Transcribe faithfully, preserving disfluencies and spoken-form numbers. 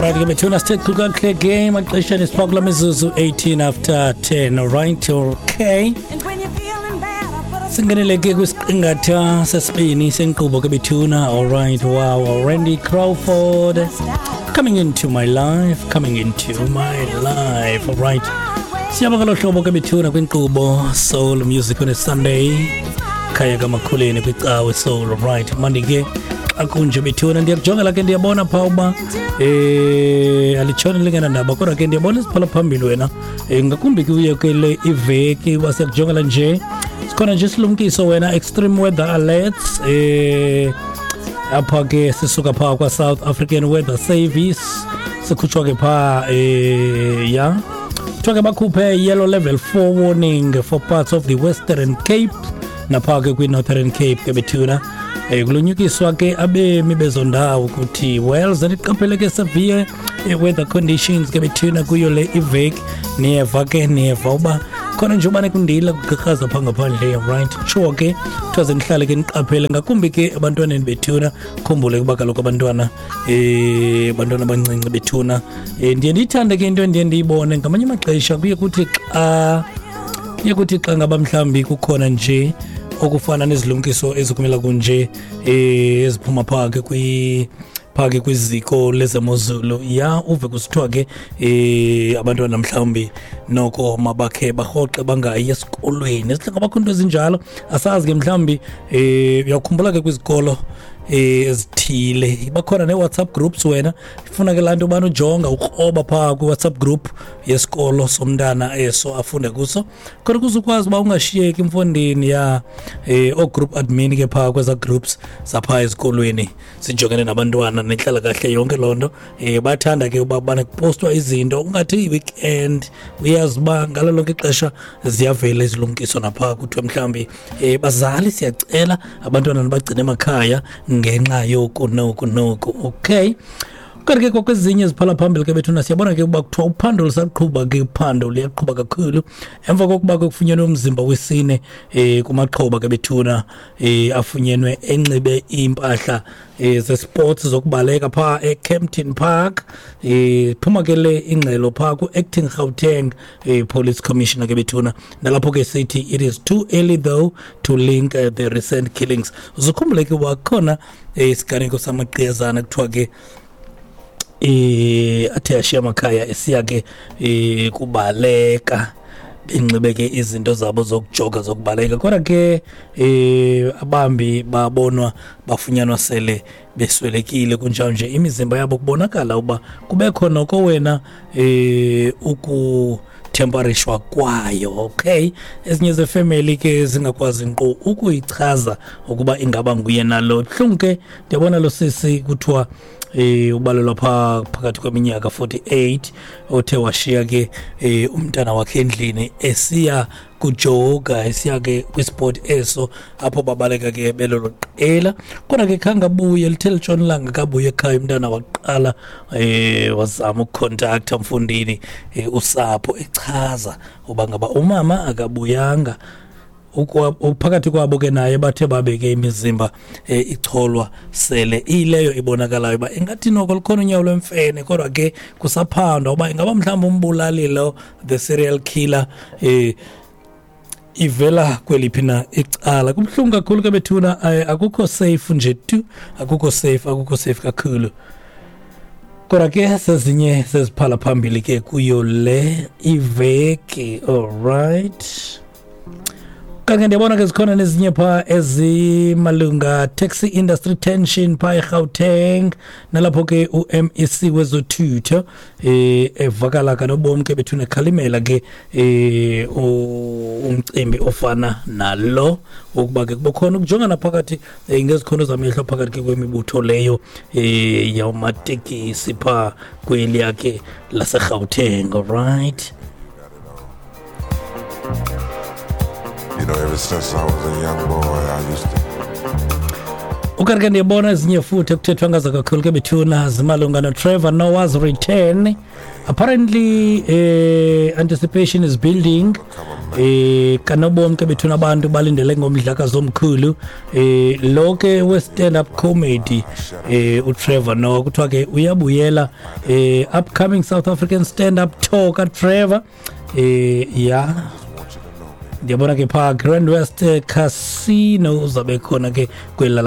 Alright, ke bethuna, sithe chu kakuhle ke emaxesheni, sipha kula mizuzu eighteen after ten. Alright, okay. Singenele ke kwisiqingatha sesibini senkqubo ke bethuna. Alright, wow, Randy Crawford, "Coming Into My Life", "Coming Into My Life". Alright. Siyaba ngalo hlobo ke bethuna kwinkqubo Soul Music on a Sunday. Khaya kaMakhuleni kwicawe Soul. Alright, mandi ke xa kunje bethuna, ndiyakujongela ke, ndiyabona phaa uba eh alitshoni lingenandaba, kodwa ke ndiyabona isiphala phambili wena, eh ngakumbi kuyo ke le iveki uba siyakujongela nje, sikhona nje isilumkiso wena, extreme weather alerts, eh apha ke sisuka phaa kwa-South African Weather Service, sikhutshwa ke phaa, eh ya, kuthiwa ke bakhuphe yellow level four warning for parts of the Western Cape naphaa ke kwi-Northern Cape ke bethuna. um kulunyukiswa ke abemi bezo ndawo ukuthi, well, zeniqaphele ke severe weather conditions ke bethuna kuyo le iveki. Niyeva ke, niyeva uba khona nje ubane kundila, kugqirhaza phaa ngaphandle, right? Tsho ke kuthiwa zenihlale ke niqaphele, ngakumbi ke ebantwaneni bethuna. Khumbule ukuba kaloku abantwana, eh abantwana abancinci bethuna, um ndiye ndiyithande ke into endiye ndiyibone ngamanye amaxesha, kuye kuthi xa kuye kuthi xa ngaba mhlawumbi kukhona nje okufana nezilumkiso ezikumela kunje, eh eziphuma phaa ke kwi phaa ke kwiziko lezemozulu, ya, uve kusithiwa ke eh abantwana mhlawumbi noko mabakhe barhoxe, bangayi esikolweni. Esihle ngabakho into ezinjalo, asazi ke mhlawumbi. eh uyakhumbula ke kwizikolo eh ezithile bakhona nee-WhatsApp groups wena, ifuna ke laa nto ubana ujonga, ukroba phaa kwi-WhatsApp group yesikolo somntana eso afunde kuso, kodwa ukuze ukwazi uba ungashiyeki mfondini. Ya, eh oo-group admin ke phaa kweza groups zaphaa ezikolweni zijongene nabantwana nenhlalakahle yonke loo nto, um bayathanda ke uba bana kupostwa izinto, ungathi i-weekend, uyazi uba ngalo lonke ixesha ziyavela izilumkiso naphaa, kuthiwe mhlawumbi, um bazali, siyacela abantwana nibagcine emakhaya ngenxa yoku noku noku. Okay, kanti ke kwakwezinye eziphala phambili ke bethuna, siyabona ke uba kuthiwa uphando lusaqhuba ke, uphando luyaqhuba kakhulu emva kokuba ke kufunyenwe umzimba wesine um kumaxhoba ke bethuna, um afunyenwe enxibe iimpahla um zesports zokubaleka phaa eKempton Park. um phuma ke le ingxelo phaa ku-acting Gauteng um police commissioner ke bethuna, nalapho ke sithi it is too early though to link uh, the recent killings. Uzukhumbule ke uba kukhona isiganeko samagqiyazana, kuthiwa ke eh athe ashiya amakhaya esiya ke eh kubaleka, benxibe ke izinto zabo zokujoga, zokubaleka, kodwa ke eh abambi babonwa, bafunyanwa sele beswelekile kunjalo nje, imizimba yabo kubonakala uba kubekho noko wena eh ukutemperishwa kwayo. Okay, ezinye zefamily ke zingakwazi nkqu ukuyichaza ukuba ingaba nguye nalo. Buhlungu ke, ndiyabona lo sisi kuthiwa eh ubalelwa pha phakathi kweminyaka forty-eight, othe washiya ke eh umntana wakhe endlini esiya kujoga, esiya ke kwisport eso apho babaleka ke belolo qela, kodwa ke khange abuye. Lithe litshona ilanga kabuye ekhaya umntana, waqala eh wazama ukucontacta mfundini eh, usapho, echaza uba ngaba umama akabuyanga. Phakathi kwabo ke naye bathe babeke imizimba eh, icholwa sele ileyo ibonakalayo uba ingathi noko lukhona unyawo lwemfene, kodwa ke kusaphandwa uba ingaba mhlawumbi umbulali lo, the serial killer, eh ivela kweliphi na icala. Kubuhlungu kakhulu ke bethuna, akukho safe nje tu, akukho safe, akukho safe kakhulu. Kodwa ke sezinye seziphala phambili ke kuyo le iveki. Alright, kanti ndiyabona ke zikhona nezinye phaa ezimalunga taxi industry tension phaa eGauteng, nalapho ke u-M E C wezothutho eh evakala kanobomi ke bethuna, ekhalimela ke eh umcimbi ofana nalo, ukuba ke kube khona ukujongana phakathi eh, ngezikhono zamehlo phakathi ke kwemibutho leyo eh yamatekisi phaa kweliya ke laseGauteng. Alright. You know, ever since I was a young boy, I used to. Ukanti ke ndiyabona ezinye futhi ekuthethwa ngazo kakhulu ke bethuna, zimalunga noTrevor Noah's return. Apparently eh, anticipation is building eh kanobom ke bethuna. Abantu balindele ngomdlakazi omkhulu eh lo ke we stand up comedy eh uTrevor Noah. Kuthiwa ke uyabuyela, eh upcoming South African stand up tour kaTrevor. eh ya ndiyabona ke phaa Grand West Casino uzabe khona ke kweli lalapha.